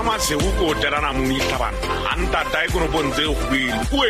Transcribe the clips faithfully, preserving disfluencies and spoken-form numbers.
Ramasego ke o telana moitla bana a ntatae konopong tse kgwele oe.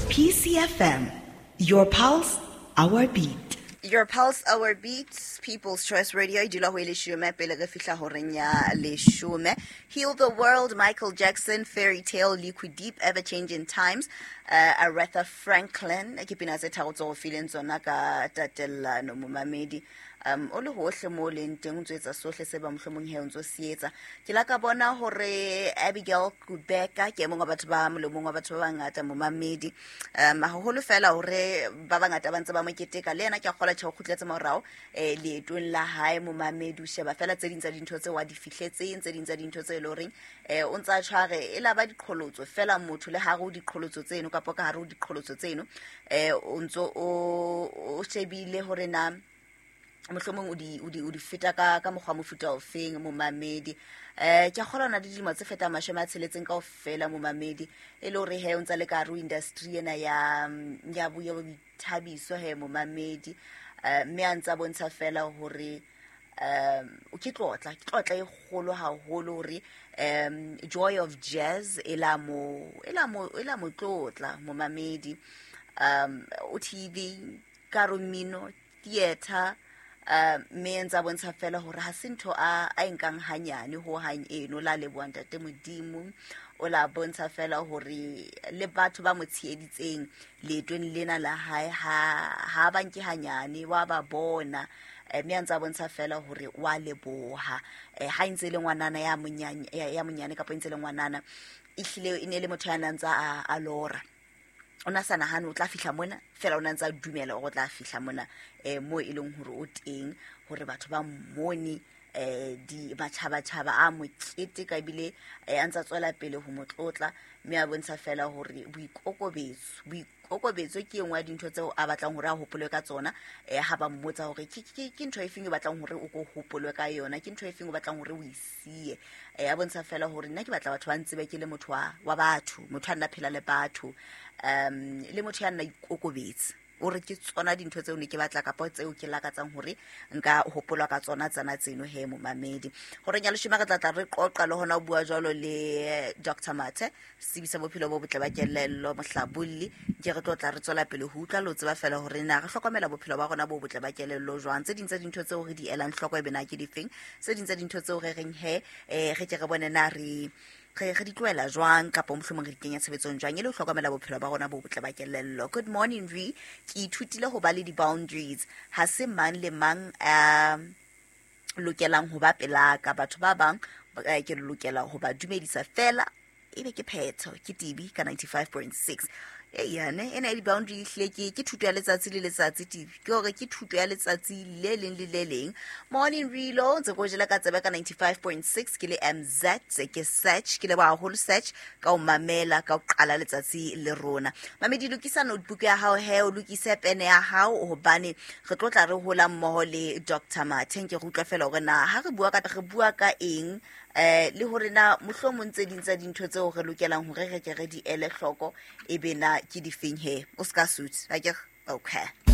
P C F M, your pulse, our beat. Your pulse, our beats, People's Choice Radio. E dula ho e leshome pele re fihla horeng ya leshome. Heal the World, Michael Jackson, Fairy Tale, Liquid Deep, Ever Changing Times, uh, Aretha Franklin. Ke pina tse tharo tse o fileng tsona ka tatellano momamedi. Um, o le hohle mo leng teng o ntso etsa sohle se ba mohlomong he o ntso se etsa. Ke la ka bona hore Abigail Kubeka ke e mong wa batho ba molomong wa batho ba bangata momamedi. Um, haholo fela hore ba bangata ba ntse ba mo keteka le yena ke a kgolwa tjhe o kgutletse morao eh leetong la hae momamedi. O sheba fela tse ding tsa dintho tseo a di fihletseng, tse ding tsa dintho tse e leng horeng eh o ntsa tshware e la ba diqholotso fela motho le hare o diqholotso tseno kapa ka hare o diqholotso tseno eh o ntso o o shebile hore na mohlomong o di o di o di feta ka ka mokgwa mofuta o feng momamedi. Eh ke a kgolwa na le dilemo tse fetang mashome a tsheletseng kaofela momamedi e le hore he o ntsa le ka hare ho industry ena ya ya bo ya boithabiso he momamedi. Eh mme a ntsa bontsha fela hore um o ke tlotla ke tlotla e kgolo haholo hore um Joy of Jazz e la mo e la mo e la mo tlotla momamedi. Um o T V ka mmino theater Uh, mme ntsa bontsha fela hore ha se ntho a a nkang hanyane ho hang eno la leboha ntate Modimo. O la bontsha fela hore le batho ba mo tsheheditseng leetong lena la hae ha ha ba nke hanyane wa ba bona. Mme ntsa bontsha fela hore wa leboha eh ha ntse le ngwanana ya monyane ya monyane kapa ntse le ngwanana ehlile e ne le motho ya nantsa a, a lora. O na sa nahane o tla fihla mona fela o na ntsa dumela hore o tla fihla mona eh mo e leng hore o teng hore batho ba mmone eh di batjhaba-tjhaba a mokete ka ebile eh a ntsa tswela pele ho motlotla. Mme a bontsha fela hore boikokobetso boikokobetso ke engwe ya dintho tseo a batlang hore a hopolwe ka tsona. Eh ha ba mmotsa hore ke ke ke ntho efeng o batlang hore o ko hopolwe ka yona, ke ntho efeng o batlang hore o e siye. Eh a bontsha fela hore nna ke batla batho ba ntsebe ke le motho wa wa batho, motho a nna phela le batho um le motho ya nna ikokobetse. O re ke tsona dintho tseo ne ke batla kapa tseo ke lakatsang hore nka hopolwa ka tsona tsana tseno he momamedi. Hore nya leshome re tla tla re qoqa le hona o bua jwalo le Doctor Mathe sebisa bophelo bo botle ba kelello mohlabolli. Ke re tlo tla re tswela pele ho utlwa lo tseba fela hore na re hlokomela bophelo ba rona bo botle ba kelello jwang. Tse ding tsa dintho tseo re di elang hloko e bena ke difeng, tse ding tsa dintho tseo re reng he eh re ke re bone na re re re di tlohela jwang kapa mohlomong re di kenya tshebetsong jwang e le ho hlokomela bophelo ba rona bo botle ba kelello. Good morning Re, ke ithutile ho ba le di-boundaries. Ha se mang le mang a lokelang ho ba pelaka. Batho ba bang ke lokela ho ba dumedisa fela ebe ke phetho. Ke T B ka ninety-five point six. Eyane ena di boundary hle ke ke thuto ya letsatsi le letsatsi T V ke hore ke thuto ya letsatsi le leng le le leng. Morning Relo ntse go jela ka tsebe ka ninety-five point six ke le M Z ke search ke le ba haholo search ka o mamela ka o qala letsatsi le rona. Mamedi lokisa notebook ya hao he o lokise pene ya hao hobane re tlo tla re hola mmoho le Doctor Mathe ke re utlwa fela hore na ha re bua ka re bua ka eng eh le hore na mohlomong tse ding tsa dintho tseo re lokelang hore re ke re di ele hloko e be na ke difeng he o ska suit. Akere okay.